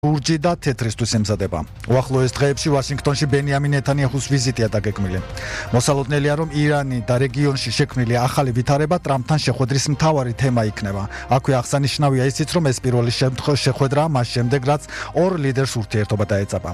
ლურჯი და თეთრისთვის ემზადება. უახლოეს დღეებში ვაშინგტონში ბენიამინ ნეთანიაჰუს ვიზიტია დაგეგმილი. მოსალოდნელია, რომ ირანი და რეგიონში შექმნილი ახალი ვითარება ტრამპთან შეხვედრის მთავარი თემა იქნება. აქვე აღსანიშნავია ისიც, რომ ეს პირველი შეხვედრაა მას შემდეგ, რაც ორ ლიდერს ურთიერთობა დაეწაბა.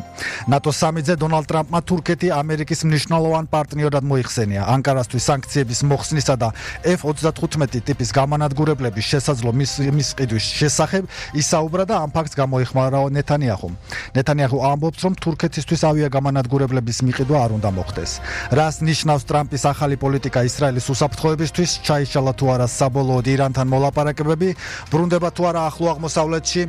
ნატოს სამიტზე დონალდ ტრამპმა თურქეთი ამერიკის მნიშვნელოვან პარტნიორად მოიხსენია. ანკარასთვის სანქციების მოხსნისა და F-35 ტიპის გამანადგურებლების შესაძლო მის ყიდვის შესახებ ისაუბრა და ამ ფაქტს გამოიხმარა ნეთანიაჰუ ამბობს, რომ თურქეთისთვის ავიაგამანადგურებლების მიყიდვა არ უნდა მოხდეს. რას ნიშნავს ტრამპის ახალი პოლიტიკა ისრაელის უსაფრთხოებისთვის, ჩაიშალა თუ არა საბოლოოდ ირანთან მოლაპარაკებები, ბრუნდება თუ არა ახლო აღმოსავლეთში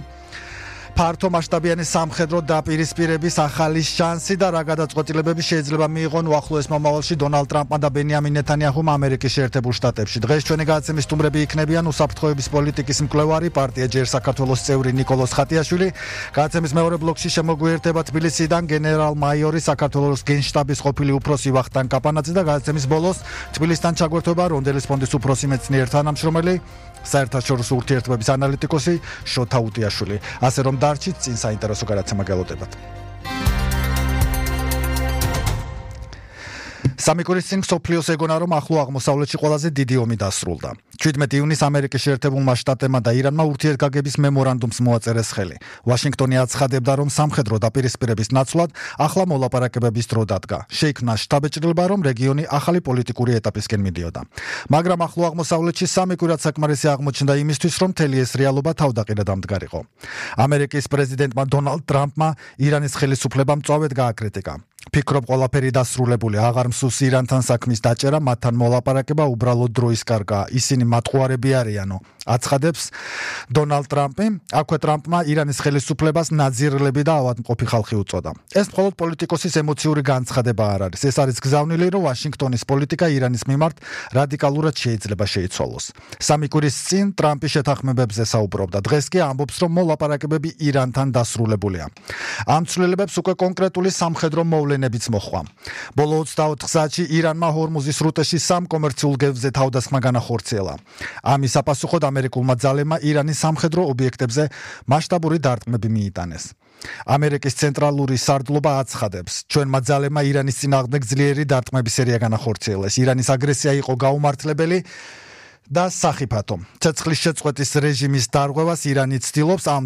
ფართო მასშტაბიანი სამხედრო დაპირისპირების ახალი შანსი და რა გადაწყვეტილებები შეიძლება მიიღონ უახლოეს მომავალში დონალდ ტრამპმა და ბენიამინ ნეთანიაჰუმ ამერიკის შეერთებულ შტატებში. დღეს ჩვენი გადაცემის სტუმრები იქნებიან უსაფრთხოების პოლიტიკის მკვლევარი, პარტია ჯერ საქართველოს წევრი ნიკოლოზ ხატიაშვილი. გადაცემის მეორე ბლოკში შემოგვიერთება თბილისიდან გენერალ-მაიორი, საქართველოს გენშტაბის ყოფილი უფროსი ვახტანგ კაპანაძე და გადაცემის ბოლოს თბილისთან ჩაგვერთვება რონდელის ფონდის უფროსი მეცნიერ თანამშრომელი, საერთაშორისო ურთიერთობების ანალიტიკოსი შოთა უტიაშვილი. ასე რომ დარჩით, წინ საინტერესო გადაცემა გელოდებათ. სამი კვირის წინ მსოფლიოს ეგონა, რომ ახლო აღმოსავლეთში ყველაზე დიდი ომი დასრულდა. 17 ივნისს ამერიკის შეერთებულმა შტატებმა და ირანმა ურთიერთგაგების მემორანდუმს მოაწერეს ხელი. ვაშინგტონი აცხადებდა, რომ სამხედრო დაპირისპირების ნაცვლად ახლა მოლაპარაკებების დრო დადგა. შეიქმნა შთაბეჭდილება, რომ რეგიონი ახალი პოლიტიკური ეტაპისკენ მიდიოდა. მაგრამ ახლო აღმოსავლეთში სამი კვირად საკმარისი აღმოჩნდა იმისთვის, რომ მთელი ეს რეალობა თავდაყირად ამდგარიყო. ამერიკის პრეზიდენტმა დონალდ ტრამპმა ირანის ხელისუფლებამ მწვავედ გააკრიტიკა. ფიქრობ ყველაფერი დასრულებული, აღარ მსურს ირანთან საქმის დაჭერა, მათთან მოლაპარაკება უბრალოდ დროის კარგაა, ისინი მატყუარები არიანო. აცხადებს დონალდ ტრამპი. აქვე ტრამპმა ირანის ხელისუფლებას ნაძირლები და ავადმყოფი ხალხი უწოდა. ეს მხოლოდ პოლიტიკოსის ემოციური განცხადება არ არის. ეს არის გზავნილი, რომ ვაშინგტონის პოლიტიკა ირანის მიმართ რადიკალურად შეიძლება შეიცვალოს. სამი კვირის წინ ტრამპი შეთანხმებებზე საუბრობდა. დღეს კი ამბობს, რომ მოლაპარაკებები ირანთან დასრულებულია. ამ ცვლილებებს უკვე კონკრეტული სამხედრო მოვლენებიც მოჰყვა. ბოლო 24 საათში ირანმა ჰორმუზის სრუტეში სამ კომერციულ გზებზე თავდასხმა განახორციელა. ამის საპასუხოდ ამერიკულმა ძალებმა ირანის სამხედრო ობიექტებზე მასშტაბური დარტყმები მიიტანეს. ამერიკის ცენტრალური სარდლობა აცხადებს, ჩვენმა ძალებმა ირანის წინააღმდეგ ძლიერი დარტყმების სერია განახორციელეს. ირანის აგრესია იყო გაუმართლებელი და სახიფათო. ცეცხლის შეწყვეტის რეჟიმის დარღვევას ირანი ცდილობს, ამ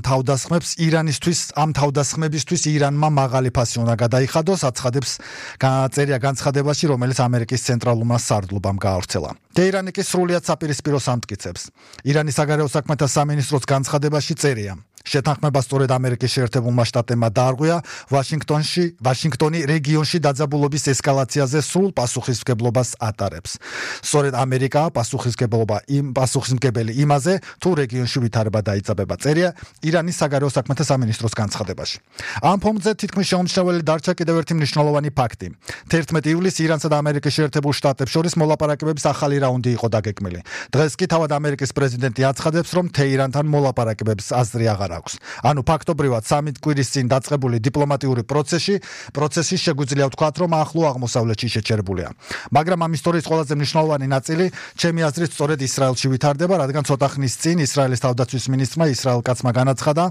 თავდასხმებისთვის ირანმა მაღალი ფასი უნდა გადაიხადოს, აცხადებს განცხადებაში, რომელიც ამერიკის ცენტრალურმა სარდლობამ გაავრცელა. ტეირანი კი სრულიად საპირისპიროს ამტკიცებს. ირანის საგარეო საქმეთა სამინისტროს განცხადებაში წერია. შეთანხმება სწორედ ამერიკის შეერთებულმა შტატებმა დაარღვია ვაშინგტონი რეგიონში დაძაბულობის ესკალაციაზე სრულ პასუხისმგებლობას ატარებს. სწორედ ამერიკაა პასუხისმგებელი იმაზე, თუ რეგიონში ვითარება დაიწყება, წერია ირანის საგარეო საქმეთა სამინისტროს განცხადებაში. ამ ფონზე თითქმის შეუმჩნეველი დარჩა კიდევ ერთი მნიშვნელოვანი ფაქტი. 11 ივლისს ირანსა და ამერიკის შეერთებულ შტატებს შორის მოლაპარაკებების ახალი რაუნდი იყო დაგეგმილი. დღეს კი თავად ამერიკის პრეზიდენტი აცხადებს, რომ თეირანთან მოლაპარაკებების აზრი აღარ აქვს. ანუ ფაქტობრივად სამი კვირის წინ დაწყებული დიპლომატიური პროცესი შეგვიძლია ვთქვათ, რომ ახლო აღმოსავლეთში შეჩერებულია. მაგრამ ამ ისტორიის ყველაზე მნიშვნელოვანი ნაწილი, ჩემი აზრით, სწორედ ისრაელში ვითარდება, რადგან ცოტა ხნის წინ ისრაელის თავდაცვის მინისტრმა ისრაელ კაცმა განაცხადა,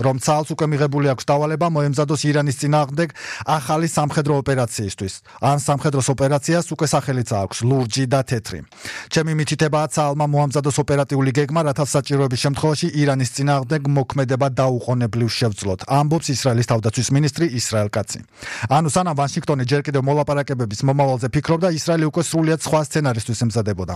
რომ ცალს უკვე მიღებული აქვს დავალება მოემზადოს ირანის წინააღმდეგ ახალი სამხედრო ოპერაციისთვის. ამ სამხედროს ოპერაციას უკვე სახელიც აქვს ლურჯი და თეთრი. ჩემი მითითებაა, ცალმა მოამზადოს ოპერატიული გეგმა, რათა საჭიროების შემთხვევაში ირანის წინააღმდეგ მოქმედება დაუყოვნებლივ შევძლოთ, ამბობს ისრაელის თავდაცვის მინისტრი ისრაელ კაცი. ანუ სანამ ვაშინგტონი ჯერ კიდევ მოლაპარაკებების მომავალზე ფიქრობდა, ისრაელი უკვე სრულიად სხვა სცენარისთვის ემზადებოდა.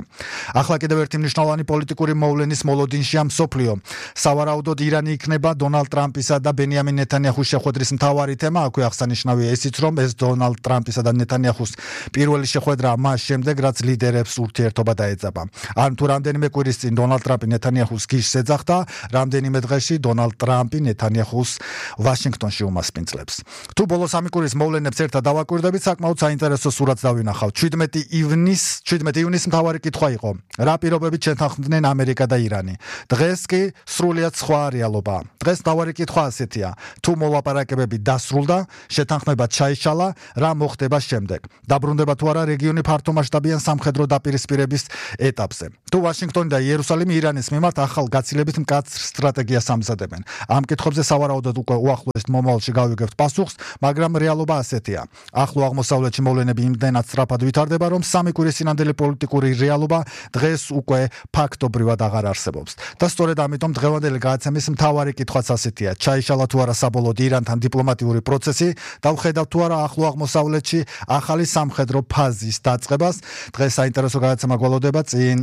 ახლა კიდევ ერთი მნიშვნელოვანი პოლიტიკური მოვლენის მოლოდინშია მსოფლიო. სავარაუდოდ ირანი იქნება დონალდ ტრამპისა და ბენიამინ ნეთანიაჰუს შეხვედრის მთავარი თემა. აქვე აღსანიშნავია ისიც, რომ ეს დონალდ ტრამპისა და ნეთანიაჰუს პირველი შეხვედრაა მას შემდეგ, რაც ლიდერებს ურთიერთობა დაეწაბა. ან თუ რამდენიმე კვირის წინ დონალდ ტრამპი ნეთანიაჰუს გიშს ეძახდა, რამდენიმე დღეში დონალდ ტრამპი ნეთანიაჰუს ვაშინგტონში უმასპინძლებს. თუ ბოლო სამი კვირის მოვლენებს ერთად დავაკვირდებით, საკმაოდ საინტერესო სურათს დავინახავთ. 17 ივნისს მთავარი კითხვა იყო, რა პირობებით შეთანხმდნენ ამერიკა და ირანი. დღეს კი სრულიად სხვა რეალობაა. დღეს მთავარი კითხვა ასეთია, თუ მოლაპარაკებები დასრულდა, შეთანხმება ჩაიშალა, რა მოხდება შემდეგ? დაბრუნდება თუ არა რეგიონი ფართომასშტაბიან სამხედრო დაპირისპირების ეტაპზე? თუ ვაშინგტონი და იერუსალიმი ირანის მიმართ ახალ გაცილებით მკაცრ სტრატეგიას ამზადებენ? იცავდებენ. Ამ კითხვებზე სავარაუდოდ უკვე უახლოეს მომავალში გავიგებთ პასუხს, მაგრამ რეალობა ასეთია. ახლო აღმოსავლეთში მოვლენები იმდენად სწრაფად ვითარდება, რომ სამი კვირის წინანდელი პოლიტიკური რეალობა დღეს უკვე ფაქტობრივად აღარ არსებობს. და სწორედ ამიტომ დღევანდელი გადაცემის მთავარი კითხვაც ასეთია: ჩაიშალა თუ არა საბოლოოდ ირანთან დიპლომატიური პროცესი და ვხედავთ თუ არა ახლო აღმოსავლეთში ახალი სამხედრო ფაზის დაწყებას. დღეს საინტერესო გადაცემა გველოდება, წინ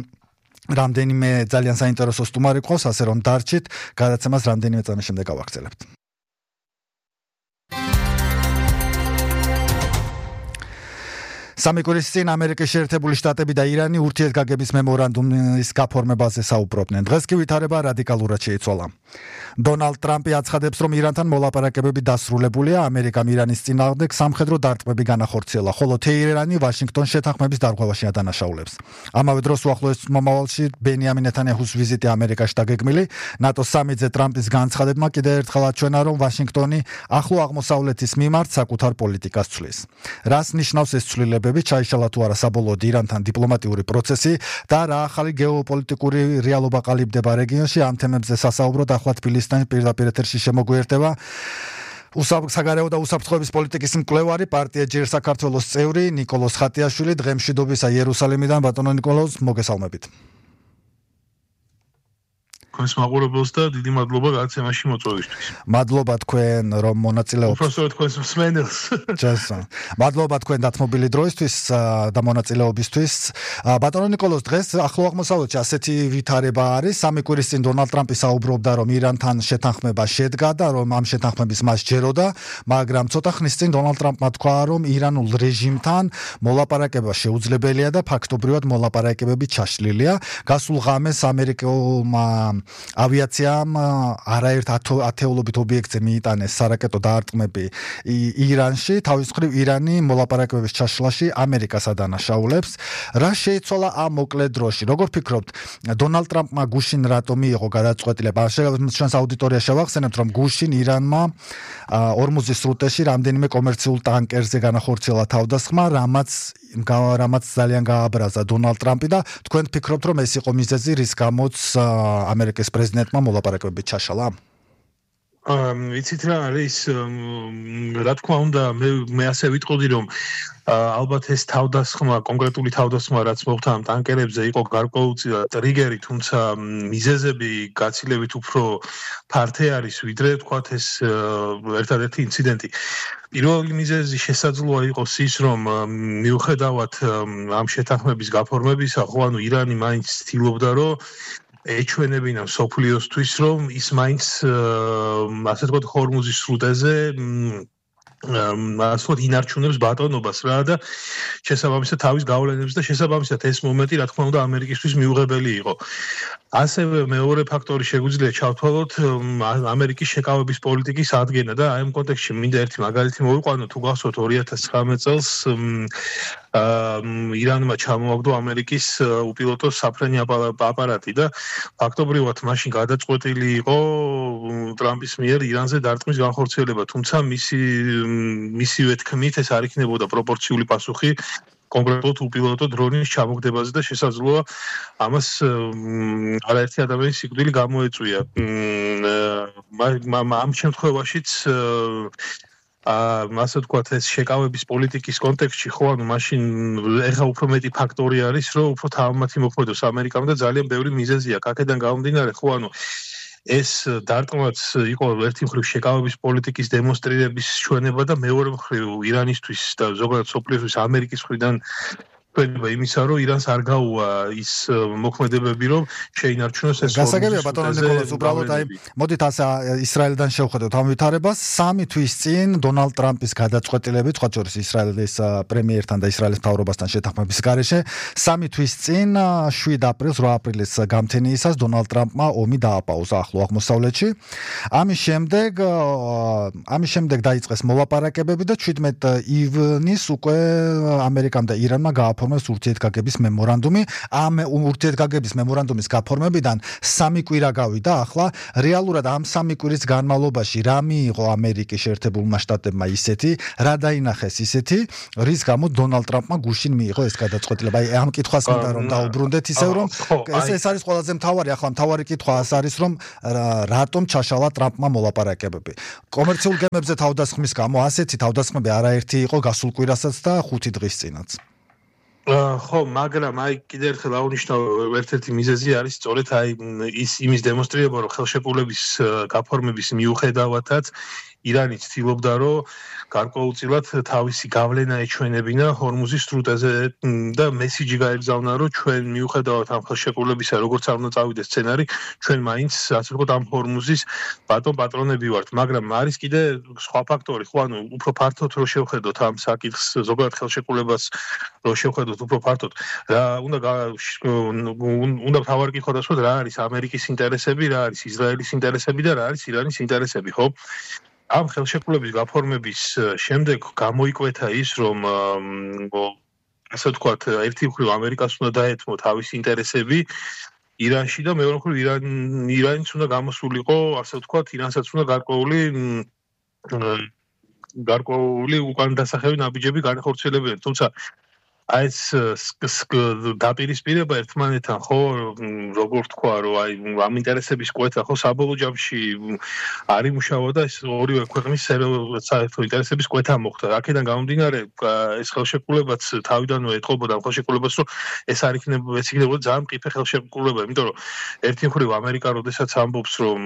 რამდენიმე ძალიან საინტერესო სტუმარი ყავს, ასე რომ დარჩით, გადაცემას რამდენიმე წამის შემდეგ გავაგრძელებთ. სამი კვირის წინ ამერიკის შეერთებული შტატები და ირანი ურთიერთგაგების მემორანდუმის გაფორმებაზე საუბრობდნენ. დღეს კი ვითარება რადიკალურად შეიცვალა. დონალდ ტრამპი აცხადებს, რომ ირანთან მოლაპარაკებები დასრულებულია, ამერიკამ ირანის წინააღმდეგ სამხედრო დარტყმები განახორციელა, ხოლო თეირანი ვაშინგტონს შეთანხმების დარღვევაში ადანაშაულებს. ამავე დროს უახლოეს მომავალში ბენიამინ ნეთანიაჰუს ვიზიტი ამერიკაში დაგეგმილი. ნატოს სამიტზე ტრამპის განცხადებმა კიდევ ერთხელ აჩვენა, რომ ვაშინგტონი ახლო აღმოსავლეთის მიმართ საკუთარ პოლიტიკას ცვლის. რას ნიშნავს ეს ცვლილებები, ჩაიშალა თუ არა საბოლოოდ ირანთან დიპლომატიური პროცესი და რა ახალი გეოპოლიტიკური რეალობა ყალიბდება რეგიონში, ამ თემებზე სასაუბროდ ახლა თბილისიდან პირდაპირ ეთერში შემოგვიერთება საგარეო და უსაფრთხოების პოლიტიკის მკვლევარი, პარტია ჯერ საქართველოს წევრი ნიკოლოზ ხატიაშვილი. დღემშვიდობისა იერუსალიმიდან, ბატონო ნიკოლოზ, მოგესალმებით. თქვენს მაყურებელს და დიდი მადლობა გადაცემაში მოწვევისთვის. მადლობა თქვენ, რომ მონაწილეობთ. უბრალოდ თქვენს მსმენელს. ჯასა. მადლობა თქვენ დათმობილი დროისთვის და მონაწილეობისთვის. ბატონო ნიკოლოზ, დღეს ახლო აღმოსავლეთში ასეთი ვითარება არის. სამი კვირის წინ დონალდ ტრამპი საუბრობდა, რომ ირანთან შეთანხმება შედგა და რომ ამ შეთანხმების მას ჯეროდა, მაგრამ ცოტა ხნის წინ დონალდ ტრამპმა თქვა, რომ ირანულ რეჟიმთან მოლაპარაკება შეუძლებელია და ფაქტობრივად მოლაპარაკებები ჩაშლილია. გასულ ღამეს ამერიკულმა ავიაციამ არაერთ ათეულობით ობიექტზე მიიტანეს სარაკეტო დაარტყმები ირანში. თავის მხრივ ირანი მოლაპარაკებების ჩაშლაში ამერიკას ადანაშაულებს. რა შეიცვალა ამ მოკლე დროში? როგორ ფიქრობთ, დონალდ ტრამპმა გუშინ რატომ მიიღო გადაწყვეტილება? ჩვენს აუდიტორიას შევახსენებთ, რომ გუშინ ირანმა ორმუზის სრუტეში რამდენიმე კომერციულ ტანკერზე განახორციელა თავდასხმა, რამაც ძალიან გააბრაზა დონალდ ტრამპი და თქვენ ფიქრობთ, რომ ეს იყო მიზეზი, რის გამოც ამერიკის პრეზიდენტმა მოლაპარაკებები ჩაშალა? ვიცით რა არის, რა თქმა უნდა, მე ასე ვიტყოდი, რომ ალბათ ეს თავდასხმა, კონკრეტული თავდასხმა, რაც მოხდა ამ ტანკერებზე, იყო გარკვეული ტრიგერი, თუმცა მიზეზები გაცილებით უფრო ფართე არის, ვიდრე თქვათ ეს ერთადერთი ინციდენტი. პირველი მიზეზი შესაძლოა იყოს ის, რომ მიუხედავად ამ შეთანხმების გაფორმებისა, ხო, ანუ ირანი მაინც ცდილობდა, რომ ეჩვენებინა მსოფლიოსთვის, რომ ის მაინც ასე ვთქვათ ჰორმუზის სრუტეზე ასე ვთქვათ ინარჩუნებს ბატონობას რა და შესაბამისად თავის გავლენებს და შესაბამისად ეს მომენტი რა თქმა უნდა ამერიკისთვის მიუღებელი იყო. ასევე მეორე ფაქტორი შეგვიძლია ჩავთვალოთ ამერიკის შეკავების პოლიტიკის ადგენა და აი ამ კონტექსტში მინდა ერთი მაგალითი მოვიყვანო. თუ გახსოვთ 2019 წელს ირანმა ჩამოაგდო ამერიკის უპილოტო საფრენი აპარატი და ფაქტობრივად მაშინ გადაწყვეტილი იყო ტრამპის მიერ ირანზე დარტყმის განხორციელება, თუმცა მისივე თქმით ეს არ იქნებოდა პროპორციული პასუხი კონკრეტულად უპილოტო დრონის ჩამოგდებაზე და შესაძლოა ამას არაერთი ადამიანის სიკვდილი გამოეწვია. ამ შემთხვევაშიც ასე ვთქვათ, ეს შეკავების პოლიტიკის კონტექსტში ხო, ანუ მაშინ ეხა უფრო მეტი ფაქტორი არის, რომ უფრო თავმათი მოქმედოს ამერიკამ და ძალიან ბევრი მიზეზია. აქედან გამომდინარე, ხო, ანუ ეს დარტყმაც იყო ერთი მხრივ შეკავების პოლიტიკის დემონსტრირების ჩვენება და მეორე მხრივ ირანისთვის და ზოგადად სოფლიოსთვის ამერიკის მხრიდან ჩვენება იმისა, რომ ირანს არ გაუვა ის მოქმედებები, რომ შეინარჩუნოს ეს გასაგებია ბატონო ნიკოლოზ, უბრალოდ აი მოდით ასე ისრაელიდან შევხედოთ ამ ვითარებას. 3 თვის წინ დონალდ ტრამპის გადაწყვეტილებით, სხვა შორის ისრაელის პრემიერთან და ისრაელის მთავრობასთან შეთანხმების გარეშე, 3 თვის წინ 7 აპრილს, 8 აპრილის გამთენიისას დონალდ ტრამპმა ომი დააპაუზა ახლო აღმოსავლეთში. ამის შემდეგ დაიწყეს მოლაპარაკებები და 17 ივნის უკვე ამერიკამ და ირანმა გააფორმეს გაფორმებს ურთიერთგაგების მემორანდუმი. ამ ურთიერთგაგების მემორანდუმის გაფორმებიდან 3 კვირა გავიდა. ახლა რეალურად ამ 3 კვირის განმავლობაში რა მიიღო ამერიკის შეერთებულმა შტატებმა ისეთი, რა დაინახეს ისეთი, რის გამო დონალდ ტრამპმა გუშინ მიიღო ეს გადაწყვეტილება. აი ამ კითხვას მინდა რომ დაუბრუნდეთ ისევ რომ ეს არის ყველაზე მთავარი. ახლა მთავარი კითხვა ეს არის რომ რატომ ჩაშალა ტრამპმა მოლაპარაკებები. კომერციულ გემებზე თავდასხმის გამო ასეთი თავდასხმები არაერთი იყო გასულ კვირასაც და 5 დღის წინაც. ხო, მაგრამ აი კიდევ ერთხელ აღნიშნავ, ერთ-ერთი მიზეზი არის სწორედ აი ის იმის დემონსტრირება, რომ ხელშეკრულების გაფორმების მიუხედავადაც ირანი ცდილობდა, რომ გარკვეულწილად თავისი გავლენა ეჩვენებინა ჰორმუზის სრუტეზე და მესიჯი გაეგზავნა, რომ ჩვენ მიუხედავად ამ ხელშეკრულებისა, როგორც არ უნდა წავიდეს სცენარი, ჩვენ მაინც ასე ვთქვათ ამ ჰორმუზის პატრონები ვართ, მაგრამ არის კიდე სხვა ფაქტორი, ხო, ანუ უფრო ფართოდ რო შევხედოთ ამ საკითხს, ზოგადად ხელშეკრულებას რო შევხედოთ უფრო ფართოდ, რა უნდა თავარი კითხვა დასვათ, რა არის ამერიკის ინტერესები, რა არის ისრაელის ინტერესები და რა არის ირანის ინტერესები, ხო? ამ ხელშეკრულების გაფორმების შემდეგ გამოიკვეთა ის, რომ ასე ვთქვათ, ერთი მხრივ ამერიკას უნდა დაეთმო თავისი ინტერესები ირანში და მეორე მხრივ ირანიც უნდა გამოსულიყო, ასე ვთქვათ, ირანსაც უნდა გარკვეული უკან დასახევი ნაბიჯები განახორციელებინა, თუმცა აი ეს დაპირისპირება ერთმანეთთან ხო როგორ თქვა რომ აი ამ ინტერესების კვეთა ხო საბოლოო ჯამში არ იმუშავა და ეს ორივე ქვეყნის საერთო ინტერესების კვეთა მოხდა. აქედან გამომდინარე ეს ხელშეკრულებაც თავიდანვე ეთყობოდა ამ ხელშეკრულებას რომ ეს არ იქნებოდა ძალიან მყიფე ხელშეკრულება, იმიტომ რომ ერთი მხრივ ამერიკა როდესაც ამბობს რომ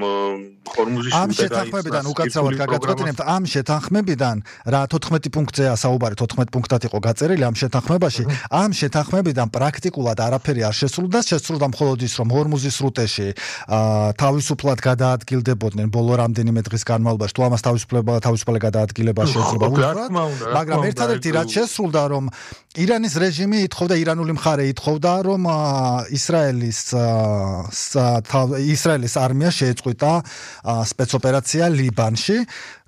ჰორმუზის ამ შეთანხმებიდან უკაცრავად გაგაწყვეტინებთ ამ შეთანხმებიდან რა 14 პუნქტზეა საუბარი 14 პუნქტად იყო გაწერილი ამ შეთანხმებაში ამ შეთანხმებიდან პრაქტიკულად არაფერი არ შესრულდა, შესრულდა მხოლოდ ის, რომ ჰორმუზის სრუტეში თავისუფლად გადაადგილდებოდნენ ბოლო რამდენიმე დღის განმავლობაში, თუ ამას თავისუფალი გადაადგილება შეიძლება უთხრათ, მაგრამ ერთადერთი რაც შესრულდა, რომ ირანის რეჟიმი ითხოვდა, ირანული მხარე ითხოვდა, რომ ისრაელის არმია შეეწყვიტა სპეცოპერაცია ლიბანში.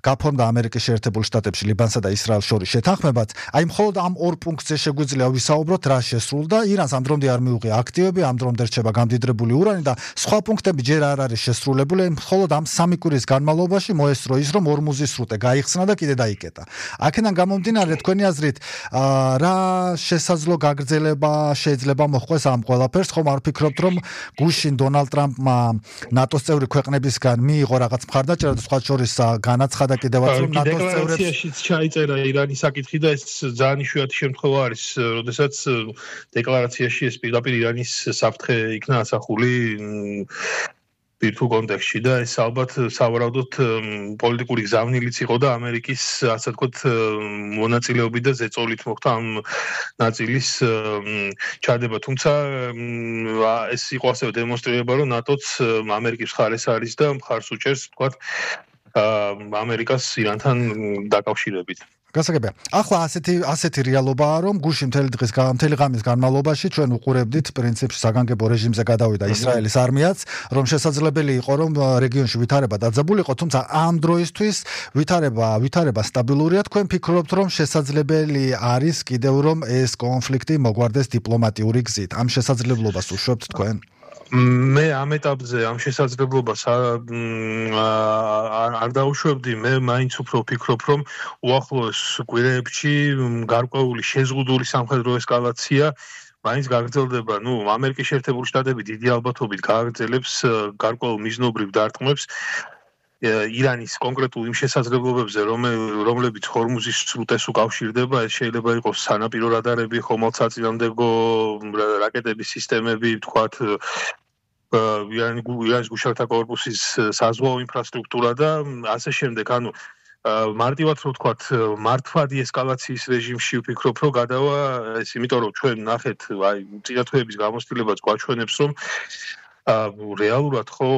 გაფორმდა ამერიკის შეერთებულ შტატებში ლიბანსა და ისრაელს შორის შეთანხმებაც. აი მხოლოდ ამ ორ პუნქტზე შეგვიძლია ვისაუბროთ რა შესრულდა. ირანს ამ დრომდე არ მიუღია აქტივები, ამ დრომდე რჩება გამდიდრებული ურანი და სხვა პუნქტები ჯერ არ არის შესრულებული. მხოლოდ ამ 3 კვირის განმავლობაში მოესწრო ის, რომ ჰორმუზის სრუტე გაიხსნა და კიდე დაიკეტა. აქედან გამომდინარე, თქვენი აზრით, რა შესაძლო გაგრძელება შეიძლება მოხდეს ამ ყველაფერს? ხომ არ ფიქრობთ, რომ გუშინ დონალდ ტრამპმა ნატოს წევრი ქვეყნებისგან მიიღო რაღაც მხარდაჭერა და სხვა შორის განაცხადა კიდევაც რომ ნატოს წევრებს დეკლარაციაშიც ჩაიწერა ირანის საკითხი და ეს ძალიან იშვიათი შემთხვევა არის, როდესაც დეკლარაციაში ეს პირდაპირ ირანის საფრთხე იქნა ასახული პირთულ კონტექსტში და ეს ალბათ სავარაუდოდ პოლიტიკური გზავნილიც იყო და ამერიკის ასე ვთქვათ მონაწილეობით და ზეწოლით მოხდა ამ ნაწილის ჩადება, თუმცა ეს იყო ასევე დემონსტრირება, რომ ნატოც ამერიკის მხარეს არის და მხარს უჭერს ვთქვათ ამერიკას ირანთან დაკავშირებით. გასაგებია. ახლა ასეთი რეალობაა, რომ გუშინ მთელი ღამის განმავლობაში ჩვენ უყურებდით პრინციპში საგანგებო რეჟიმზე გადავიდა ისრაელის არმიაც, რომ შესაძლებელი იყო, რომ რეგიონში ვითარება დაძაბულიყო, თუმცა ამ დროისთვის ვითარება სტაბილურია. თქვენ ფიქრობთ, რომ შესაძლებელი არის კიდევ რომ ეს კონფლიქტი მოგვარდეს დიპლომატიური გზით? ამ შესაძლებლობას უშვებთ თქვენ? მე ამ ეტაპზე ამ შესაძლებლობას არ დაუშვებდი, მე მაინც უფრო ვფიქრობ, რომ უახლოეს კვირეებში გარკვეული შეზღუდული სამხედრო ესკალაცია მაინც გაგრძელდება. ამერიკის შეერთებული შტატები დიდი ალბათობით გააგრძელებს გარკვეულ მიზნობრივ დარტყმებს ირანის კონკრეტულ იმ შესაძლებლობებზე, რომლებიც ჰორმუზის სრუტეს უკავშირდება. ეს შეიძლება იყოს სანაპირო რადარები, ხომალდსაწინააღმდეგო რაკეტების სისტემები, ვთქვათ ირანის გუშინათა კორპუსის საზღვაო ინფრასტრუქტურა და ასე შემდეგ. ანუ მარტივად რო ვთქვათ, მართვადი ესკალაციის რეჟიმში ვფიქრობ, რომ გადავა ეს, იმიტომ რომ ჩვენ ნახეთ, აი წინათვეების გამოცდილებაც გვაჩვენებს, რომ რეალურად ხო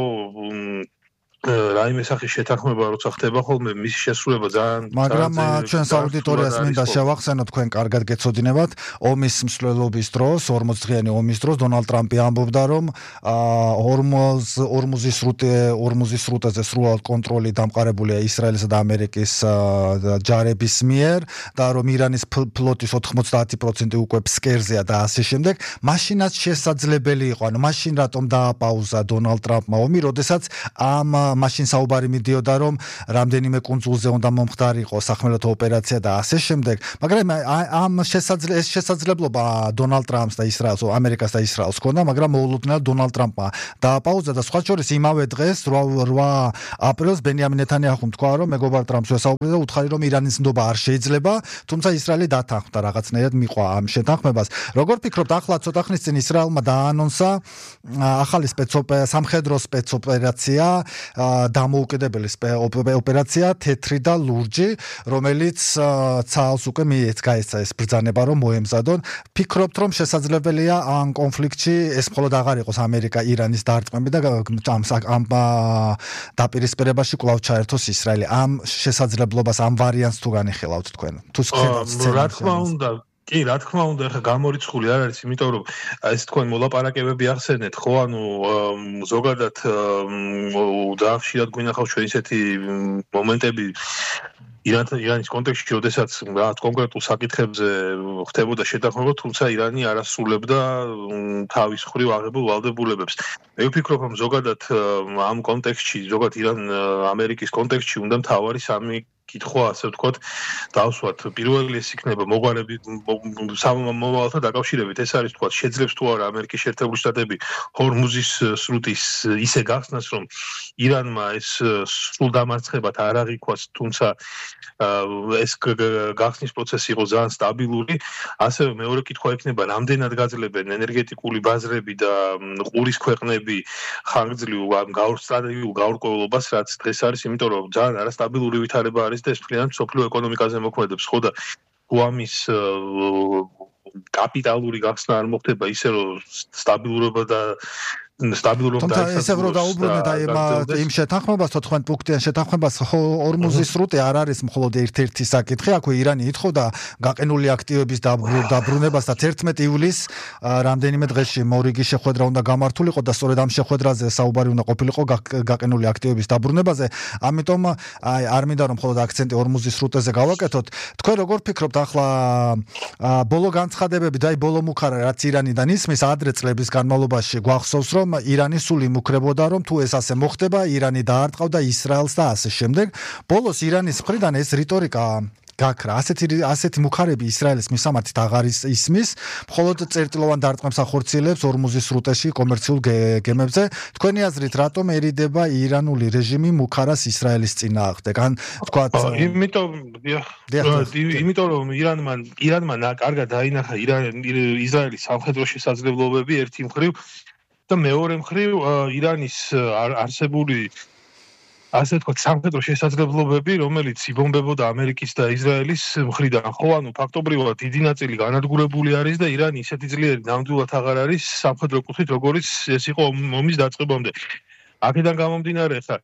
რაიმე სახის შეთანხმება როცა ხდება ხოლმე მის შესრულება ძალიან მაგრამ ჩვენს აუდიტორიას მინდა შევახსენო თქვენ კარგად გეცოდინებათ ომის მსვლელობის დროს 40-დღიანი ომის დროს დონალდ ტრამპი ამბობდა რომ ორმუზის სრუტეზე სრულად კონტროლი დამყარებულია ისრაელისა და ამერიკის ჯარების მიერ და რომ ირანის ფლოტის 90% უკვე ფსკერზეა და ასე შემდეგ მაშინაც შესაძლებელი იყო ანუ მაშინ რატომ დააპაუზა დონალდ ტრამპმა ომი როდესაც მაშინ საუბარი მიდიოდა რომ რამდენიმე კუნძულზე უნდა მომხდარიყო სახმელეთო ოპერაცია და ასე შემდეგ მაგრამ ამ შესაძლებლობა დონალდ ტრამპს და ისრაელს ამერიკას და ისრაელს ჰქონდა მაგრამ მოულოდნელად დონალდ ტრამპმა დააპაუზა და სხვა შორის იმავე დღეს 8 აპრილს ბენიამინ ნეთანიაჰუმ თქვა რომ მეგობარ ტრამპს ვესაუბრე და უთხარი რომ ირანის ნდობა არ შეიძლება თუმცა ისრაელი დათანხმდა რაღაცნაირად მიყვა ამ შეთანხმებას როგორ ფიქრობთ ახლა ცოტა ხნის წინ ისრაელმა დაანონსა ახალი სამხედრო სპეცოპერაცია დამოუკიდებელი ოპერაცია თეთრი და ლურჯი რომელიც ცალს უკვე გაეცა ეს ბრძანება რომ მოემზადონ ფიქრობთ რომ შესაძლებელია ამ კონფლიქტში ეს მხოლოდ აღარ იყოს ამერიკა ირანის დარტყმები და ამ დაპირისპირებაში კვლავ ჩაერთოს ისრაელი ამ შესაძლებლობას ამ ვარიანტს თუ განიხილავთ თქვენ თუ შეხედავთ რა თქმა უნდა კი, რა თქმა უნდა, ახლა გამორიცხული არ არის, იმიტომ რომ ეს თქვენ მოლაპარაკებები ახსენეთ, ხო, ანუ ზოგადად ძალიან ხშირად გვინახავს ჩვენ ისეთი მომენტები ირანის კონტექსტში, როდესაც რაღაც კონკრეტულ საკითხებზე ხდებოდა შეთანხმება, თუმცა ირანი არ ასრულებდა თავის მხრივ აღებულ ვალდებულებებს. მე ვფიქრობ, რომ ზოგადად ამ კონტექსტში, ზოგადად ირან-ამერიკის კონტექსტში უნდა მთავარი სამი კითხვა ასე ვთქვათ, დავსვათ. პირველი ეს იქნება მოგვარები მომავალთან დაკავშირებით, ეს არის ვთქვათ, შეძლებს თუ არა ამერიკის შეერთებული შტატები ჰორმუზის სრუტის ისე გახსნას, რომ ირანმა ეს სრულ დამარცხებად არ აღიქვას, თუმცა ეს გახსნის პროცესი იყო ძალიან სტაბილური. ასევე მეორე კითხვა იქნება, რამდენად გაძლებენ ენერგეტიკული ბაზრები და ყურის ქვეყნები ხანგრძლივ ტრადიციულ გაურკვევლობას, რაც დღეს არის, იმიტომ რომ ძალიან არასტაბილური ვითარება არის და ეს მთლიანად მსოფლიო ეკონომიკაზე მოქმედებს, ხო და ამის კაპიტალური გახსნა არ მოხდება ისე რომ სტაბილურობა და თუმცა ესე რომ დაუბრუნეთ აი იმ შეთანხმებას 14 პუნქტიან შეთანხმებას ორმუზის სრუტე არ არის მხოლოდ ერთ-ერთი საკითხი აქვე ირანი ითხოვდა გაყინული აქტივების დაბრუნებას და 11 ივლისს რამდენიმე დღეში მორიგი შეხვედრა უნდა გამართულიყო და სწორედ ამ შეხვედრაზე საუბარი უნდა ყოფილიყო გაყინული აქტივების დაბრუნებაზე ამიტომ აი არ მინდა რომ მხოლოდ აქცენტი ორმუზის სრუტეზე გავაკეთოთ თქვენ როგორ ფიქრობთ ახლა ბოლო განცხადებები და აი ბოლო მუხარა რაც ირანიდან ისმის ადრე წლების განმავლობაში გვახსოვს რომ ირანი სულ იმუქრებოდა რომ თუ ეს ასე მოხდება ირანი დაარტყავდა ისრაელს და ასე შემდეგ ბოლოს ირანის მხრიდან ეს რიტორიკა გაქრა ასეთი მუხარები ისრაელის მისამართით აღარ ისმის მხოლოდ წერტილოვან დარტყმებს ახორციელებს ორმუზის სრუტეში კომერციულ გემებზე თქვენი აზრით რატომ ერიდება ირანული რეჟიმი მუხარას ისრაელის წინააღმდეგ ან თქვათ იმიტომ რომ ირანმა კარგად დაინახა ისრაელის სამხედრო შესაძლებლობები ერთი მხრივ და მეორე მხრივ ირანის არსებული ასე ვთქვათ სამხედრო შესაძლებლობები, რომელიც იბომბებოდა ამერიკის და ისრაელის მხრიდან, ხო, ანუ ფაქტობრივად დიდი ნაწილი განადგურებული არის და ირანი ისეთი ძლიერი ნამდვილად აღარ არის სამხედრო კუთხით, როგორც ეს იყო ომის დაწყებამდე. აქედან გამომდინარე, ხა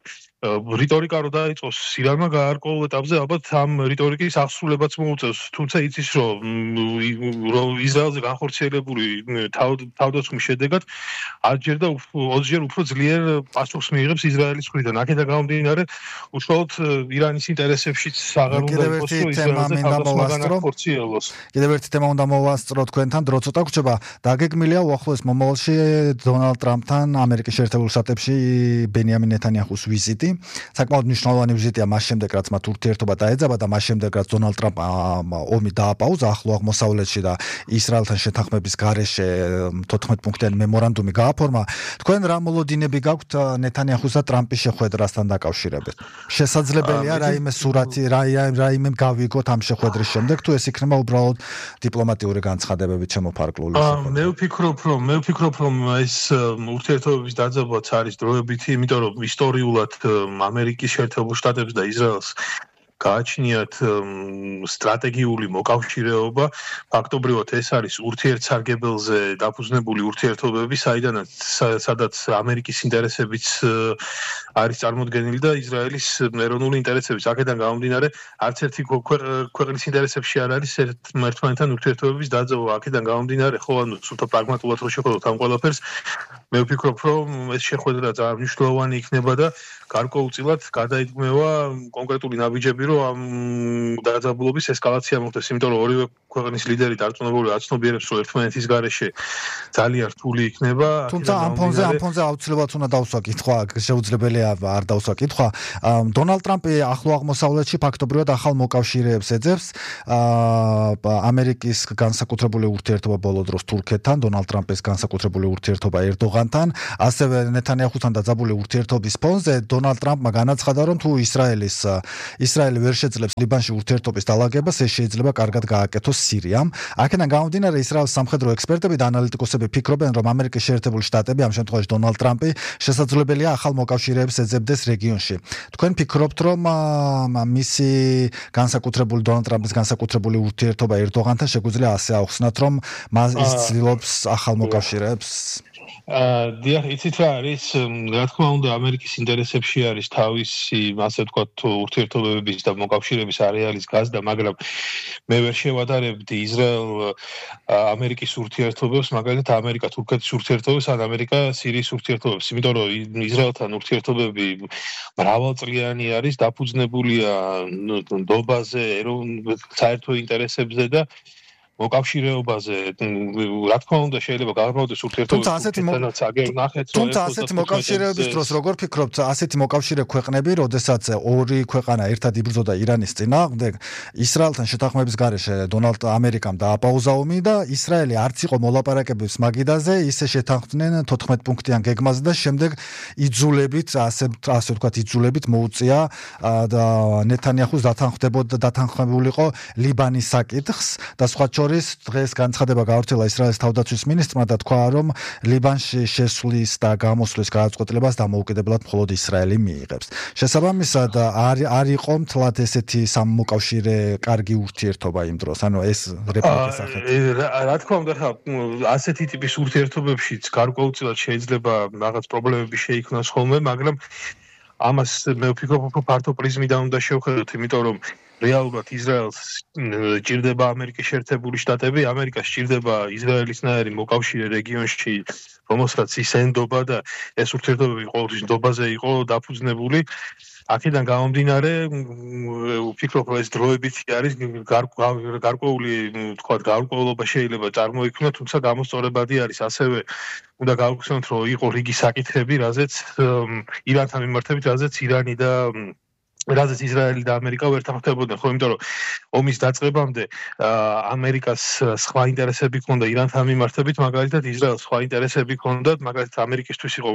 რიტორიკა რო დაიწყოს ირანმა გაარკვეულ ეტაპზე ალბათ ამ რიტორიკის აღსრულებაც მოუწევს, თუმცა იცის რომ ისრაელზე განხორციელებული თავდაცვის შედეგად 10ჯერ და 20ჯერ უფრო ძლიერ პასუხს მიიღებს ისრაელის მხრიდან. აქედან გამომდინარე, უშუალოდ ირანის ინტერესებშიც აღარ უნდა იყოს ისრაელზე თავდაცვა განახორციელოს. კიდევ ერთი თემა უნდა მოვასწრო თქვენთან, დრო ცოტა გრჩება. დაგეგმილია უახლოეს მომავალში დონალდ ტრამპთან ამერიკის შეერთებულ შტატებში ბენიამინ ნეთანიაჰუს ვიზიტი. საკმაოდ მნიშვნელოვანი ვიზიტია მას შემდეგ რაც მათ ურთიერთობა დაეძაბა და მას შემდეგ რაც დონალდ ტრამპმა ომი დააპაუზა ახლო აღმოსავლეთში და ისრაელთან შეთანხმების გარეშე 14 პუნქტიანი მემორანდუმი გააფორმა თქვენ რა მოლოდინები გაქვთ ნეთანიაჰუს და ტრამპის შეხვედრასთან დაკავშირებით შესაძლებელია რაიმე სურათი რაიმე გავიგოთ ამ შეხვედრის შემდეგ თუ ეს იქნება უბრალოდ დიპლომატიური განცხადებებით შემოფარგლული მე ვფიქრობ რომ ეს ურთიერთობების დაძაბვაც არის დროებითი იმიტომ რომ ისტორიულად ამერიკის შეერთებულ შტატებს და ისრაელს გააჩნიათ სტრატეგიული მოკავშირეობა, ფაქტობრივად ეს არის ურთიერთსარგებელზე დაფუძნებული ურთიერთობები, სადაც ამერიკის ინტერესებიც არის წარმოდგენილი და ისრაელის ეროვნული ინტერესებიც. აქედან გამომდინარე, არც ერთი ქვეყნის ინტერესებში არ არის ერთმანეთთან ურთიერთობების დაძაბვა. აქედან გამომდინარე, ხო, ანუ სულთა პრაგმატულად რო შეხედოთ ამ ყველაფერს, მე ვფიქრობ, რომ ეს შეხვედრა ძალიან მნიშვნელოვანი იქნება და გარკვეულწილად გადაიდგმევა კონკრეტული ნაბიჯები, რომ ამ დაძაბულობის ესკალაცია მოხდეს, იმიტომ რომ ორივე ქვეყნის ლიდერი დარწმუნებული აცნობიერებს, რომ ერთმანეთის გარეშე ძალიან რთული იქნება. თუმცა ამ ფონზე აუცილებლად უნდა დავსვა კითხვა, შეუძლებელია არ დავსვა კითხვა. დონალდ ტრამპი ახლო აღმოსავლეთში ფაქტობრივად ახალ მოკავშირეებს ეძებს. ამერიკის განსაკუთრებული ურთიერთობა ბოლო დროს თურქეთთან, დონალდ ტრამპის განსაკუთრებული ურთიერთობა ერდოღანთან, ასევე ნეთანიაჰუსთან დაძაბული ურთიერთობის ფონზე დონალდ ტრამპმა განაცხადა, რომ თუ ისრაელი ვერ შეძლებს ლიბანში ურთიერთობის დალაგებას, ეს შეიძლება კარგად გააკეთოს სირიამ. აქედან გამომდინარე, ისრაელის სამხედრო ექსპერტები და ანალიტიკოსები ფიქრობენ, რომ ამერიკის შეერთებული შტატები, ამ შემთხვევაში დონალდ ტრამპი, შესაძლებელია ახალ მოკავშირეებს ეძებდეს რეგიონში. თქვენ ფიქრობთ, რომ მისი დონალდ ტრამპის განსაკუთრებული ურთიერთობა ერდოღანთან შეგვიძლია ასე აუხსნათ, რომ ის ცდილობს ახალ მოკავშირეებს? დიახ, იცით რა არის, რა თქმა უნდა, ამერიკის ინტერესებში არის თავისი, ასე ვთქვათ, ურთიერთობების და მოკავშირეების არეალის გაზრდა, მაგრამ მე ვერ შევადარებდი ისრაელ-ამერიკის ურთიერთობებს, მაგალითად ამერიკა-თურქეთის ურთიერთობებს ან ამერიკა-სირიის ურთიერთობებს, იმიტომ რომ ისრაელთან ურთიერთობები მრავალწლიანი არის, დაფუძნებულია ნდობაზე, საერთო ინტერესებზე და მოკავშირეობაზე, რა თქმა უნდა, შეიძლება გაარკვევდეს ურთიერთობები. თუმცა ასეთი მოკავშირეების დროს როგორ ფიქრობთ, ასეთი მოკავშირე ქვეყნები, როდესაც ორი ქვეყანა ერთად იბრძოდა ირანის წინააღმდეგ, ისრაელთან შეთანხმების გარეშე ამერიკამ დააპაუზა ომი და ისრაელი არც იყო მოლაპარაკებების მაგიდაზე, ისე შეთანხმდნენ 14 პუნქტიან გეგმაზე და შემდეგ იძულებით მოუწია და ნეთანიაჰუს დათანხმებულიყო ლიბანის საკითხს და სხვა დღეს განცხადება გავრცელა ისრაელის თავდაცვის მინისტრმა და თქვა, რომ ლიბანში შესვლის და გამოსვლის გადაწყვეტილებას დამოუკიდებლად მხოლოდ ისრაელი მიიღებს. შესაბამისად, არ იყო მთლად ესეთი სამმოკავშირე კარგი ურთიერთობა იმ დროს, ანუ ეს რეპლიკის სახით. რა თქმა უნდა, ასეთი ტიპის ურთიერთობებშიც გარკვეულწილად შეიძლება რაღაც პრობლემები შეიქმნას ხოლმე, მაგრამ ამას მე ვფიქრობ, რომ ფართო პრიზმიდან უნდა შევხედოთ, იმიტომ რომ რეალურად ისრაელს ჭირდება ამერიკის შეერთებული შტატები, ამერიკას ჭირდება ისრაელისნაირი მოკავშირე რეგიონში, რომელსაც ის ენდობა და ეს ურთიერთობები ყოველთვის ნდობაზე იყო დაფუძნებული. აქედან გამომდინარე, ვფიქრობ, რომ ეს დროებითი არის გარკვეული, თქვათ, გარკვეულობა შეიძლება წარმოიქმნას, თუმცა გამოსწორებადი არის. ასევე უნდა გავხსენოთ, რომ იყო რიგი საკითხები, რაზეც ირანთან მიმართებით, რაზეც ისრაელი და ამერიკა ვერ თანხმდებოდნენ, ხო, იმიტომ რომ ომის დაწყებამდე ამერიკას სხვა ინტერესები ჰქონდა ირანთან მიმართებით, მაგალითად ისრაელს სხვა ინტერესები ჰქონდა, მაგალითად ამერიკისთვის იყო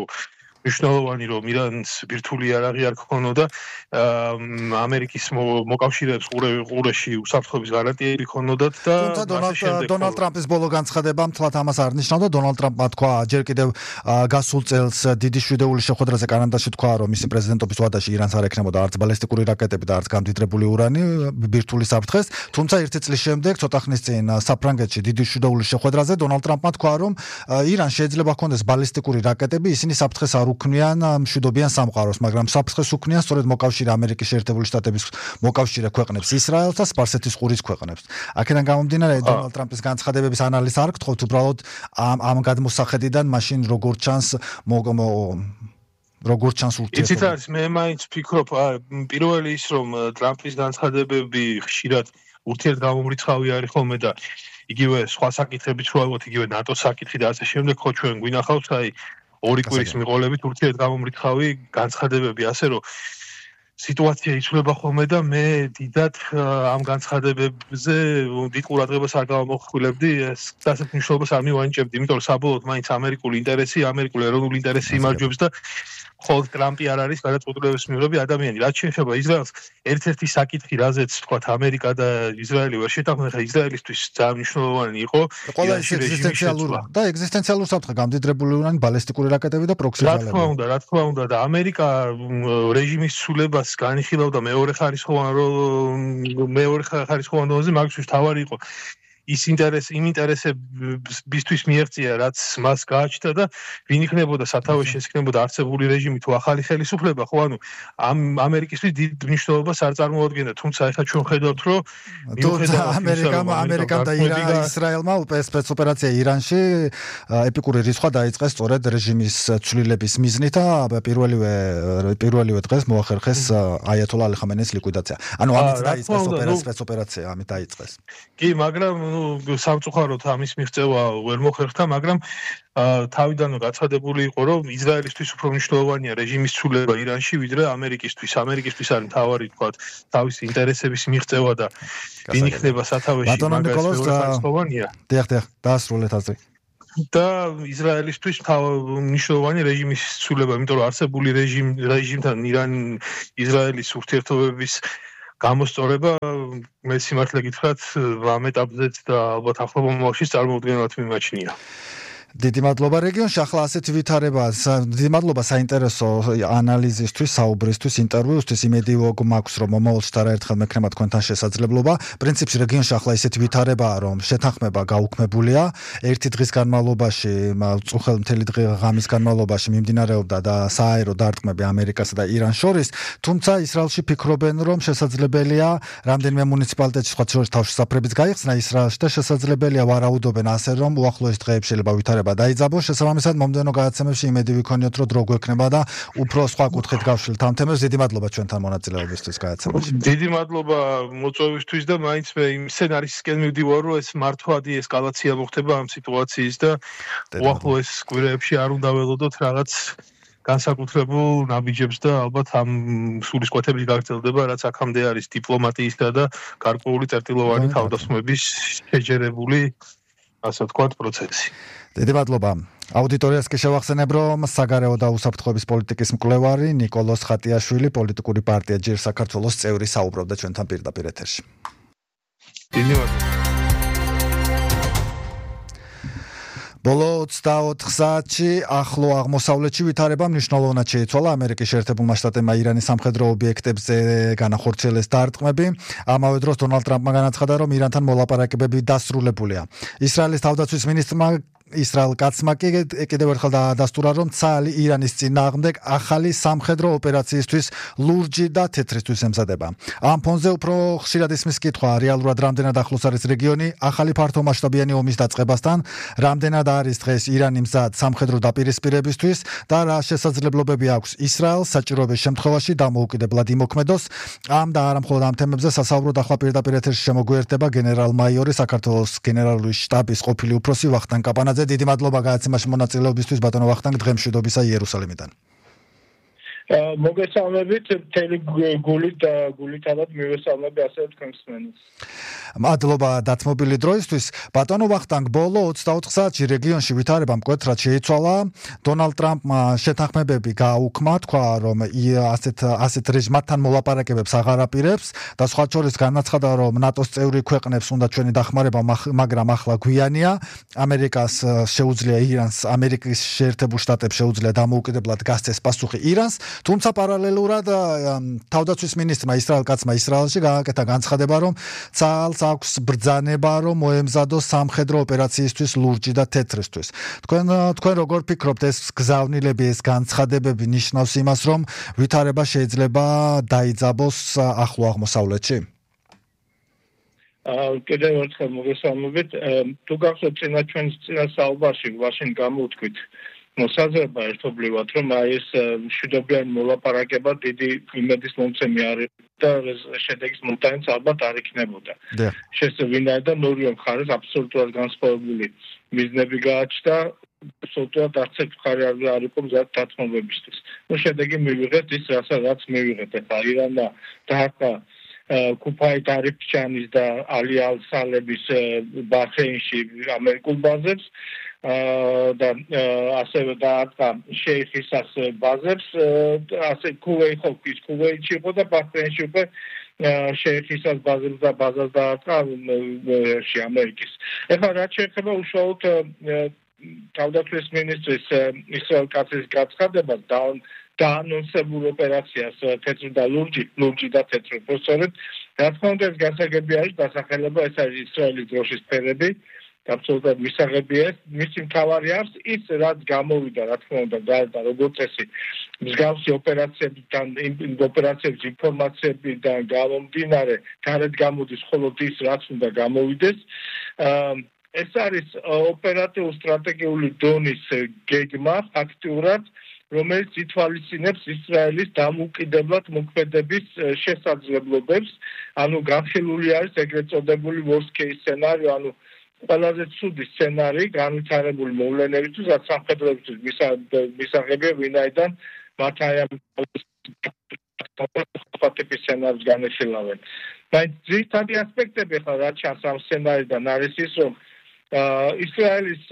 მნიშვნელოვანი, რომ ირანს ბირთვული იარაღი არ ჰქონოდა, ამერიკის მოკავშირეებს ყურეში უსაფრთხოების გარანტიები ჰქონდათ და დონალდ ტრამპის ბოლო განცხადება მთლად ამას არ ნიშნავდა. დონალდ ტრამპმა თქვა ჯერ კიდევ გასულ წელს დიდი შვიდეულის შეხვედრაზე კანადაში თქვა, რომ მისი პრეზიდენტობის ვადაში ირანს არ ექნებოდა არც ბალისტიკური რაკეტები და არც გამდიდრებული ურანი ბირთვული საფრთხეს. თუმცა ერთი წლის შემდეგ, ცოტა ხნის წინ საფრანგეთში დიდი შვიდეულის შეხვედრაზე დონალდ ტრამპმა თქვა, რომ ირანს შეიძლება ჰქონდეს ბალისტიკური რაკეტები, ისინი საფრთხეს არ უქმნიან მშვიდობიან სამყაროს, მაგრამ საფრთხეს უქმნიან სწორედ მოკავშირე ამერიკის შეერთებული შტატების მოკავშირე ქვეყნებს, ისრაელს და სპარსეთის ყურის ქვეყნებს. აქედან გამომდინარე, დონალდ ტრამპის განცხადებების ანალიზს არ გთხოვთ, უბრალოდ ამ გადმოსახედიდან მაშინ როგორ ჩანს ურთიერთობა. იცით არის, მე მაინც ვფიქრობ, პირველი ის, რომ ტრამპის განცხადებები ხშირად ურთიერთგამომრიცხავი არის ხოლმე და იგივე სხვა საკითხებიც რო ავიღოთ, იგივე ნატოს საკითხი და ასე შემდეგ, ხო ჩვენ გვინახავს, ორი კვირის მიყოლებით ურთიერთგამომრიცხავი განცხადებები, ასე რომ სიტუაცია იცვლება ხოლმე და მე დიდად ამ განცხადებებზე დიდ ყურადღებას არ გავამოხვილებდი, ეს ასეთ მნიშვნელობას არ მივანიჭებდი, იმიტომ რომ საბოლოოდ მაინც ამერიკული ეროვნული ინტერესი იმარჯვებს და ხოლმე ტრამპი არ არის გადაწყვეტილების მიღები ადამიანი. რაც შეეხება ისრაელს, ერთ-ერთი საკითხი, რაზეც თქვათ ამერიკა და ისრაელი ვერ შეთანხმდნენ, ხა ისრაელისთვის ძალიან მნიშვნელოვანი იყო ყველა ეგზისტენციალური საფრთხე, გამდიდრებული ურანი, ბალისტიკური რაკეტები და პროქსი ძალები. რა თქმა უნდა და ამერიკა რეჟიმის ცვლილებას ამას განიხილავდა მეორე ხარისხოვან დონეზე, მაგისთვის თავარი იყო ის იმ ინტერესებისთვის მიაღწია, რაც მას გააჩნდა და ვინ იქნებოდა სათავეში, ეს იქნებოდა არსებული რეჟიმი თუ ახალი ხელისუფლება, ხო, ანუ ამ ამერიკისთვის დიდ მნიშვნელობას არ წარმოადგენდა, თუმცა ახლა ჩვენ ხედავთ, რომ ამერიკამ და ისრაელმა სპეცოპერაცია ირანში ეპიკური რისხვა დაიწყეს სწორედ რეჟიმის ცვლილების მიზნით და პირველივე დღეს მოახერხეს აიათოლა ალი ხამენეის ლიკვიდაცია. ანუ ამით დაიწყეს სპეცოპერაცია, ამით დაიწყეს. კი, მაგრამ სამწუხაროდ ამის მიღწევა ვერ მოხერხდა, მაგრამ თავიდანვე გაცხადებული იყო, რომ ისრაელისთვის უფრო მნიშვნელოვანია რეჟიმის ცვლილება ირანში, ვიდრე ამერიკისთვის. ამერიკისთვის არის მთავარი, თქვათ, თავისი ინტერესების მიღწევა და ვინ იქნება სათავეში, მაგას მნიშვნელოვანია. დიახ, დაასრულეთ აზრი. და ისრაელისთვის მნიშვნელოვანი რეჟიმის ცვლილება, იმიტომ რომ არსებული რეჟიმთან ისრაელის ურთიერთობების გამოსწორება მე სიმართლე გითხრათ ამ ეტაპზეც და ალბათ ახლობელ მომავალში წარმოუდგენლად მიმაჩნია. დიდი მადლობა რეგიონში ახლა ასეთი ვითარება დიდი მადლობა საინტერესო ანალიზისთვის, საუბრისთვის, ინტერვიუსთვის. იმედი მაქვს, რომ მომავალში არაერთხელ მექნება თქვენთან შესაძლებლობა. პრინციპში რეგიონში ახლა ისეთი ვითარებაა, რომ შეთანხმება გაუქმებულია. ერთი დღის განმავლობაში, წუხელ მთელი ღამის განმავლობაში მიმდინარეობდა და სააერო დარტყმები ამერიკასა და ირანს შორის, თუმცა ისრაელში ფიქრობენ, რომ შესაძლებელია რამდენიმე მუნიციპალიტეტში სხვა შორის თავშესაფრებიც გაიხსნა ისრაელში და შესაძლებელია ვარაუდობენ ასე, რომ უახლოეს დღეებში შეიძლება ვითარება დაიძაბოს. შესაბამისად მომდევნო გადაცემებში იმედი ვიქონიოთ, რომ დრო გვექნება და უფრო სხვა კუთხით გავშლით ამ თემებს. დიდი მადლობა ჩვენთან მონაწილეობისთვის გადაცემაში. დიდი მადლობა მოწვევისთვის და მაინც მე იმ სცენარისკენ მივდივარ, რომ ეს მართვადი ესკალაცია მოხდება ამ სიტუაციის და უახლოეს კვირაებში არ უნდა ველოდოთ რაღაც განსაკუთრებულ ნაბიჯებს და ალბათ ამ სულისკვეთების გაგრძელდება, რაც აქამდე არის დიპლომატიისა და გარკვეული წერტილოვანი თავდასხმების შეჯერებული, ასე ვთქვათ, პროცესი. დიდი მადლობა. აუდიტორიას კი შევახსენებ, რომ საგარეო და უსაფრთხოების პოლიტიკის მკვლევარი ნიკოლოზ ხატიაშვილი, პოლიტიკური პარტია ჯერ საქართველოს წევრი, საუბრობდა ჩვენთან პირდაპირ ეთერში. დიდი მადლობა. ბოლო 24 საათში ახლო აღმოსავლეთში ვითარება მნიშვნელოვნად შეიცვალა ამერიკის შეერთებულმა შტატებმა ირანის სამხედრო ობიექტებზე განახორციელეს დარტყმები. ამავე დროს დონალდ ტრამპმა განაცხადა, რომ ირანთან მოლაპარაკებები დასრულებულია. ისრაელის თავდაცვის მინისტრმა ისრაელ კაცმა კი კიდევ ერთხელ დაადასტურა, რომ ცალი ირანის წინააღმდეგ ახალი სამხედრო ოპერაციისთვის ლურჯი და თეთრისთვის ემზადება. ამ ფონზე უფრო ხშირად ისმის კითხვა, რეალურად რამდენად ახლოს არის რეგიონი ახალი ფართომასშტაბიანი ომის დაწყებასთან, რამდენად არის დღეს ირანი მზად სამხედრო დაპირისპირებისთვის და რა შესაძლებლობები აქვს ისრაელს საჭიროების შემთხვევაში დამოუკიდებლად იმოქმედოს. ამ და არა მხოლოდ ამ თემებზე სასაუბროდ ახლა პირდაპირ ეთერში შემოგვიერთდება გენერალ-მაიორი, საქართველოს გენერალური შტაბის ყოფილი უფროსი ვახტანგ კაპანაძე. დიდი მადლობა გადაცემაში მონაწილეობისთვის ბატონო ვახტანგ, დღემშვიდობისა იერუსალიმიდან. მოგესალმებით, მთელი გულითადად მივესალმები ასევე თქვენს მსმენელს. მადლობა დათმობილი დროისთვის. ბატონო ვახტანგ, ბოლო 24 საათში რეგიონში ვითარება მკვეთრად შეიცვალა. დონალდ ტრამპმა შეთანხმებები გააუქმა, თქვა, რომ ასეთ რეჟიმთან მოლაპარაკებებს აღარ აპირებს და სხვა შორის განაცხადა, რომ ნატოს წევრი ქვეყნებს უნდა ჩვენი დახმარება, მაგრამ ახლა გვიანია. ამერიკას შეუძლია ირანს, ამერიკის შეერთებულ შტატებს შეუძლია დამოუკიდებლად გასცეს პასუხი ირანს. თუმცა პარალელურად თავდაცვის მინისტრმა ისრაელ კაცმა ისრაელში გააკეთა განცხადება, რომ ცალს აქვს ბრძანება, რომ მოემზადოს სამხედრო ოპერაციისთვის ლურჯი და თეთრისთვის. თქვენ როგორ ფიქრობთ, ეს გზავნილები, ეს განცხადებები ნიშნავს იმას, რომ ვითარება შეიძლება დაიძაბოს ახლო აღმოსავლეთში? კიდევ ერთხელ მოგესალმებით. თუ გახსოვთ ჩვენს წინა საუბარში ვაშინ გამოვთქვით მოსაზრება ერთობლივად, რომ ეს მშვიდობიანი მოლაპარაკება დიდი იმედის მომცემი არის და შედეგის მომტანიც ალბათ არ იქნებოდა. შესაძლოა ნორიო მხარეს აბსოლუტურად განსხვავებული მიზნები გააჩნდა, აბსოლუტურად არც ერთ მხარე არ იყო მზად დათმობებისთვის. შედეგი მივიღეთ ის, რასაც მივიღეთ. ახლა ირანა დაარტყა კუფაი ტარიფჩანის და ალი ალ-სალების ბაჰრეინში ამერიკულ ბაზებს და ასევე დაარტყა შეიხისას ბაზებს, ასე ქუვეითში იყო და ბაჰრეინში უკვე შეიხისას ბაზებს და ბაზას დაარტყა ამერიკის. ეხლა რაც შეეხება უშუალოდ თავდაცვის მინისტრის ისრაელ კაცის გაცხადებას დაანონსებულ ოპერაციას თეთრი და ლურჯი და თეთრი. სწორედ რა თქმა უნდა ეს გასაგები არის დასახელება, ეს არის ისრაელის დროშის ფერები. Absolutely მისაღებია მისი მთავარი არის ის რაც გამოვიდა რა თქმა უნდა და როგორც წესი მსგავსი ოპერაციებიდან ოპერაციების ინფორმაციებიდან გამომდინარე გარეთ გამოდის მხოლოდ ის რაც უნდა გამოვიდეს ეს არის ოპერატიულ სტრატეგიული დონის გეგმა ფაქტურად რომელიც ითვალისწინებს ისრაელის დამოუკიდებლად მოქმედების შესაძლებლობებს ანუ განხილული არის ეგრეთ წოდებული worst case scenario ანუ ყველაზე ცუდი სცენარი განვითარებული მოვლენებისთვის, რაც სამხედროებისთვის მისაღებია ვინაიდან მათ აი ამ ტიპის სცენარს განეხილავენ. Բայց ძირითადი ასპექტები ხა რაც ჩანს ამ სცენარიდან არის ის, რომ ისრაელის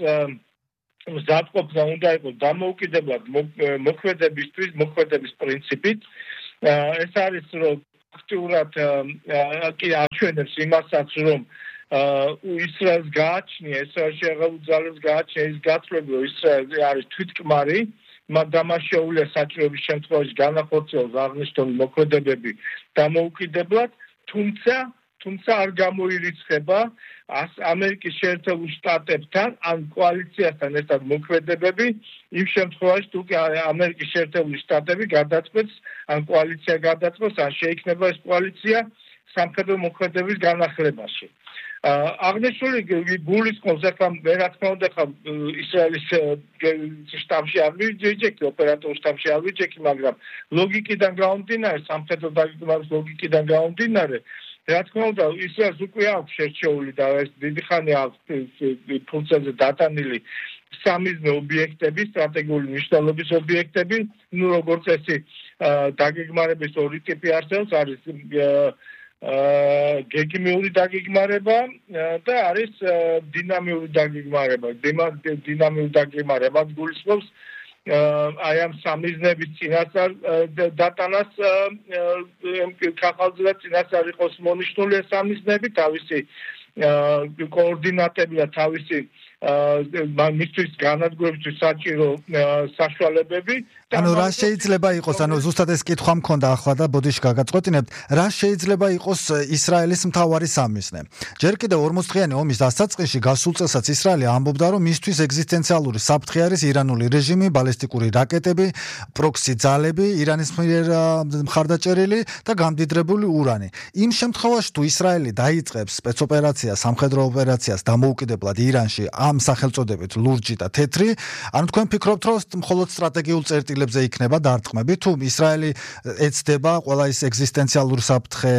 მზადყოფნა უნდა იყოს დამოუკიდებლად მოქმედების პრინციპით. ეს არის რომ ფაქტურად კი აჩვენებს იმასაც, რომ ისრაელს გააჩნია, ესრაელში აღებული ძალებს გააჩნია ის გაცვლები, რომ ისრაელი არის თვითკმარი, მაგრამ შეუძლია საჭიროების შემთხვევაში განახორციელოს აღნიშნული მოქმედებები დამოუკიდებლად, თუმცა არ გამოირიცხება ამერიკის შეერთებულ შტატებთან ან კოალიციასთან ერთად მოქმედებები იმ შემთხვევაში თუ ამერიკის შეერთებული შტატები გადაწყვეტს ან კოალიცია გადაწყვეტს ან შეიქმნება ეს კოალიცია სამხედრო მოქმედების განახლებაში. აღნიშნული გულისხმობს ახლა რა თქმა უნდა ისრაელის შტაბში არ ვიჯექი ოპერატიულ შტაბში არ ვიჯექი მაგრამ ლოგიკიდან გამომდინარე სამხედრო დაგეგმვის ლოგიკიდან გამომდინარე რა თქმა უნდა ისრაელს უკვე აქვს შერჩეული და ეს დიდი ხანი აქვს ფუნქციაზე დატანილი სამიზნე ობიექტები სტრატეგიული მნიშვნელობის ობიექტები ნუ როგორც წესი დაგეგმარების ორი ტიპი არსებობს არის გეგმიური დაგეგმარება და არის დინამიური დაგეგმარება. დინამიური დაგეგმარება გულისხმობს აი ამ სამიზნების წინასწარ დატანას კახალზე და წინასწარ იყოს მონიშნული ეს სამიზნები თავისი координатები და თავისი მისთვის განადგურებისთვის საჭირო საშუალებები ანუ რა შეიძლება იყოს ანუ ზუსტად ეს კითხვა მქონდა ახლა და ბოდიში გაგაწყვეტინებთ რა შეიძლება იყოს ისრაელის მთავარი სამიზნე ჯერ კიდევ 40 დღიანი ომის დასაწყისში გასულ წელსაც ისრაელი ამბობდა რომ მისთვის ეგზისტენციალური საფრთხე არის ირანული რეჟიმი ბალისტიკური რაკეტები პროქსი ძალები ირანის მიერ მხარდაჭერილი და გამდიდრებული урანი იმ შემთხვევაში თუ ისრაელი დაიწყებს სპეცოპერაციას სამხედრო ოპერაციას დამოუკიდებლად ირანში ამ სახელწოდებით ლურჯი და თეთრი ანუ თქვენ ფიქრობთ რომ მხოლოდ სტრატეგიულ წერტილებზე იქნება დარტყმები თუ ისრაელი ეცდება ყველა ის ეგზისტენციალური საფრთხე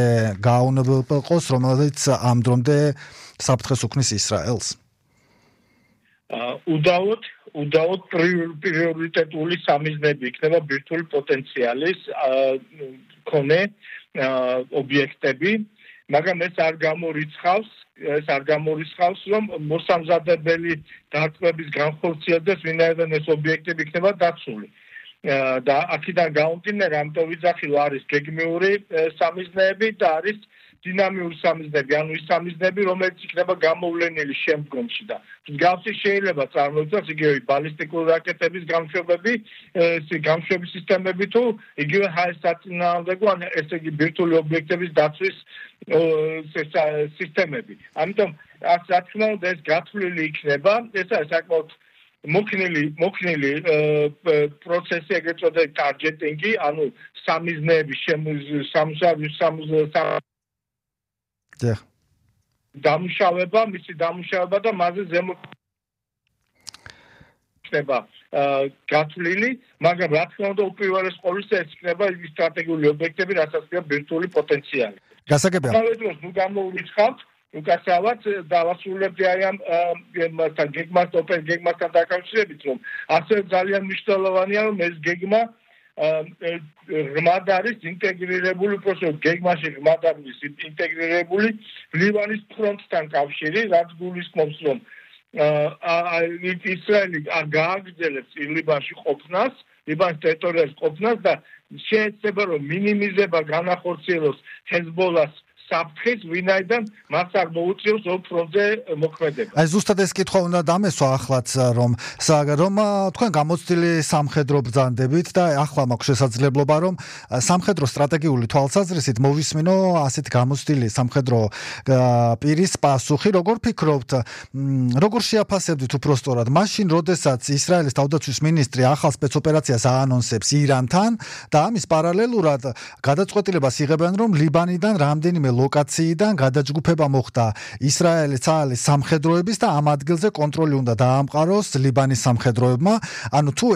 გააუნებელყოს რომელიც ამ დრომდე საფრთხეს უქმნის ისრაელს უდაოდ პრიორიტეტული სამიზნები იქნება ბირთვული პოტენციალის მქონე ობიექტები მაგრამ ეს არ გამორიცხავს რომ მოსამზადებელი დარტყმების განხორციელდეს ვინაიდან ეს ობიექტები იქნება დაცული და აქედან გამომდინარე ამიტომ ვიძახილ არის გეგმიური სამიზნეები და არის დინამიური სამიზნები ანუ ის სამიზნები რომელიც იქნება გამოვლენილი შემდგომში და მსგავსი შეიძლება წარმოიდგინოს იგივე ბალისტიკური რაკეტების გამშვებები გამშვების სისტემები თუ იგივე ჰაერსაწინააღმდეგო ან ესე იგი ბირთვული ობიექტების დაცვის სისტემები ამიტომ რა თქმა უნდა ეს გათვლილი იქნება ეს არის საკმაოდ მოქნილი პროცესი ეგრეთ წოდებული ტარგეტინგი ანუ სამიზნეების დამუშავება მისი დამუშავება და მასზე ზემო ხდება გათვლილი მაგრამ რა თქმა უნდა უპირველეს ყოვლისა ეს იქნება ის სტრატეგიული ობიექტები რასაც ქვია ბირთვული პოტენციალი გასაგებია ნუ გამოურიცხავთ უკაცრავად დავასრულებდი აი ამ გეგმასთან დაკავშირებით რომ ასე ძალიან მნიშვნელოვანია რომ ეს გეგმა ღრმად არის ინტეგრირებული პროცესი გეგმაში ღრმად არის ინტეგრირებული ლიბანის ფრონტთან კავშირი რაც გულისხმობს რომ ისრაელი გააგრძელებს ლიბანში ყოფნას ლიბანის ტერიტორიაზე ყოფნას და შეეცდება რომ მინიმიზება განახორციელოს ჰეზბოლას საფრთხეს, ვინაიდან მას არ მოუწევს ორ ფრონტზე მოქმედება. აი ზუსტად ეს კითხვა უნდა დამესვა ახლაც, რომ თქვენ გამოცდილი სამხედრო ბრძანდებით და ახლა მაქვს შესაძლებლობა, რომ სამხედრო სტრატეგიული თვალსაზრისით მოვისმინო ასეთ გამოცდილი სამხედრო პირის პასუხი. როგორ ფიქრობთ, როგორ შეაფასებდით უпростоრად მაშინ, როდესაც ისრაელის თავდაცვის მინისტრი ახალ სპეცოპერაციას აანონსებს ირანთან და ამის პარალელურად გადაწყვეტილებას იღებენ, რომ ლიბანიდან რამდენიმე ლოკაციიდან გადაჯგუფება მოხდა ისრაელის ცალის სამხედროების და ამ ადგილზე კონტროლი უნდა დაამყაროს ლიბანის სამხედროებმა. ანუ თუ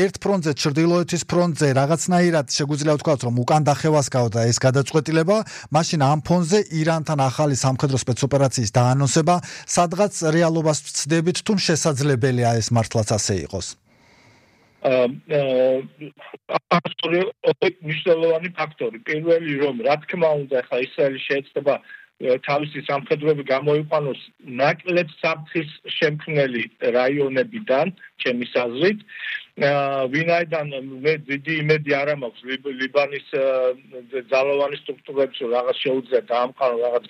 ერთ ფრონტზე, ჩრდილოეთის ფრონტზე რაღაცნაირად შეგვიძლია ვთქვათ, რომ უკან დახევას გავდა ეს გადაწყვეტილება, მაშინ ამ ფონზე ირანთან ახალი სამხედრო სპეცოპერაციის დაანონსება სადღაც რეალობას ვცდებით, თუ შესაძლებელია ეს მართლაც ასე იყოს. მნიშვნელოვანი ფაქტორი. პირველი, რომ რა თქმა უნდა, ახლა ისრაელი შეეცდება თავისი სამხედროები გამოიყვანოს ნაკლებ საფრთხის შემქმნელი რაიონებიდან, ჩემის აზრით, ვინაიდან მე დიდი იმედი არ მაქვს ლიბანის ძალოვანი სტრუქტურებს, რომ რაღაც შეუძლია დაამყარონ, რაღაც